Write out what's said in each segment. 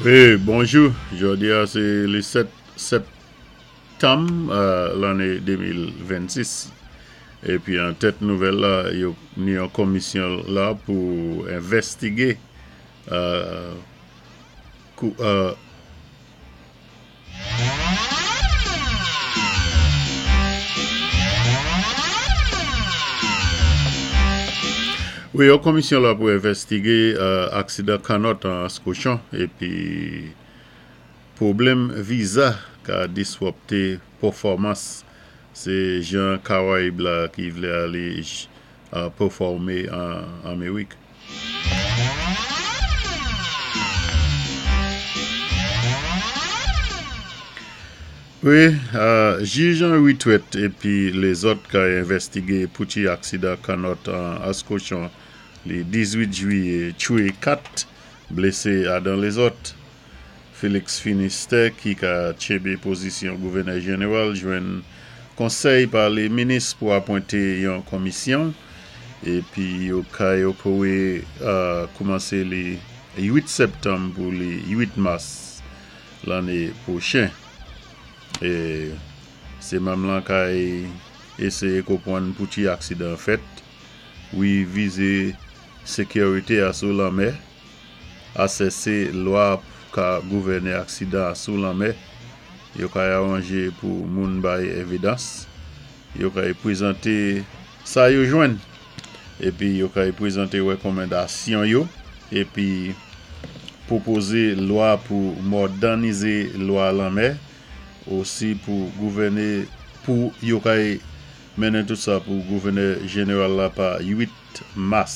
Wi, bonjou, jòdi-a sé le 7 sèptanm lanné 2026. Épi an tèt nouvèl la, yo ni yon komisyon la pou envèstigé kou Wi, yon komisyon la pou envèstigé aksidan kannòt an Anskochon épi pwoblèm viza ka diswòpté pèfòmans sé jan Karayib la ki vlé alé pèfòmé an Amerik. Wi, jij an retrèt épi lézòt kay envèstigé pouti aksidan kannòt an Anskochon le 18 jwiyé tchwé 4, blésé adan lézòt. Félix Finistère ki ka tchenbé pozisyon gouvènè jénéwal jwenn konsèy pa lé minis pou apwenté yon konmisyon épi yo kay opowé koumansé le 8 sèptanm pou le 8 mas lanné pwochen. É sé manm lan kay éséyé konpwann pouti aksidan fèt, wi vizé sékirité a sou lanmè, asèsé lwa ka gouvèné aksidan a sou lanmè, yo kay awanjé pou moun bay évidans, yo kay pwézanté sa yo jwenn, épi yo kay pwézanté wékonmandasyon yo, épi pwopozé lwa pou mòdannizé lwa lanmè, osi pou gouvèné pou yo kay mennen tout sa pou gouvènè jénéwal la pa 8 mas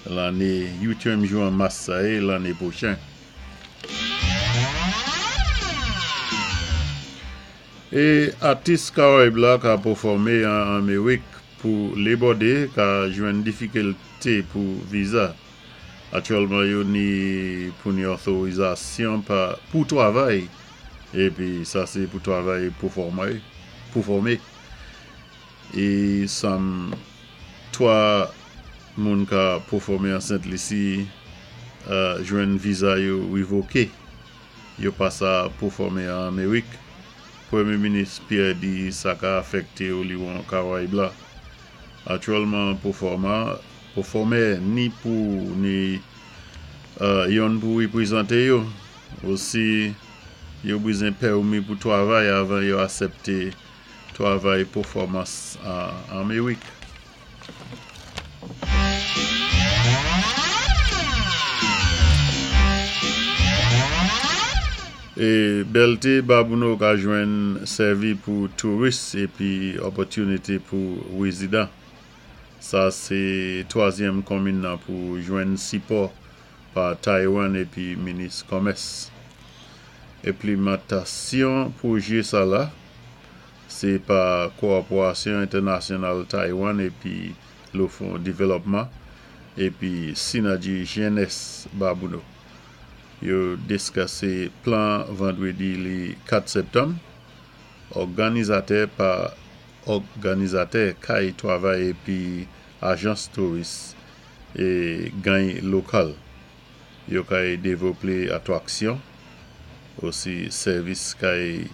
lanné 8èm jou an mas sa yé lanné pwochen. É atis Karayib la ka pèfòmé an Amerik pou lé bòdé ka jwenn difikilté pou viza. Aktyèlman yo ni pou ni otorizasyon pa pou twavay épi sa sé pou twavay pèfòmé. É sanm 3 moun ka pèfòmé an Sent Lisi jwenn viza yo révoké. Yo pa sa pèfòmé an Amerik. Pwémyé minis Pierre di sa ka afèkté oliwon Karayib la. Aktyèlman pèfòmè ni pou ni yonn pou wépwézanté yo. Osi yo bizwen pèmi pou twavay avan yo asèpté twavay pèfòmans an Amerik. É bèlté Babonneau ka jwenn sèvi pou touris épi òpòtinité pou wézidan. Sa sé twazyèm konminn nan pou jwenn sipò pa Taiwan épi minis konmès. Enplimantasyon pwojé sa la sé pa Kòpórasyon Entènasyonal Taiwan épi lo Fon Dévlòpman épi Synergy Jènès Babonneau. Yo diskasé plan vandwédi le 4 sèptanm. Òganizatè pa òganizatè kay twavay épi ajans touris é gany lokal. Yo kay dévlopé atwaksyon, osi sèvis kay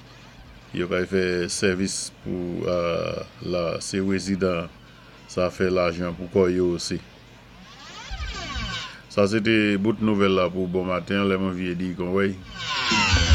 yo kay fè sèvis pou la sé wézidan sa fè lajan pou kò yo osi. Sa sé té bout nouvèl la pou bon maten, lè mwen vyé di kon wèy.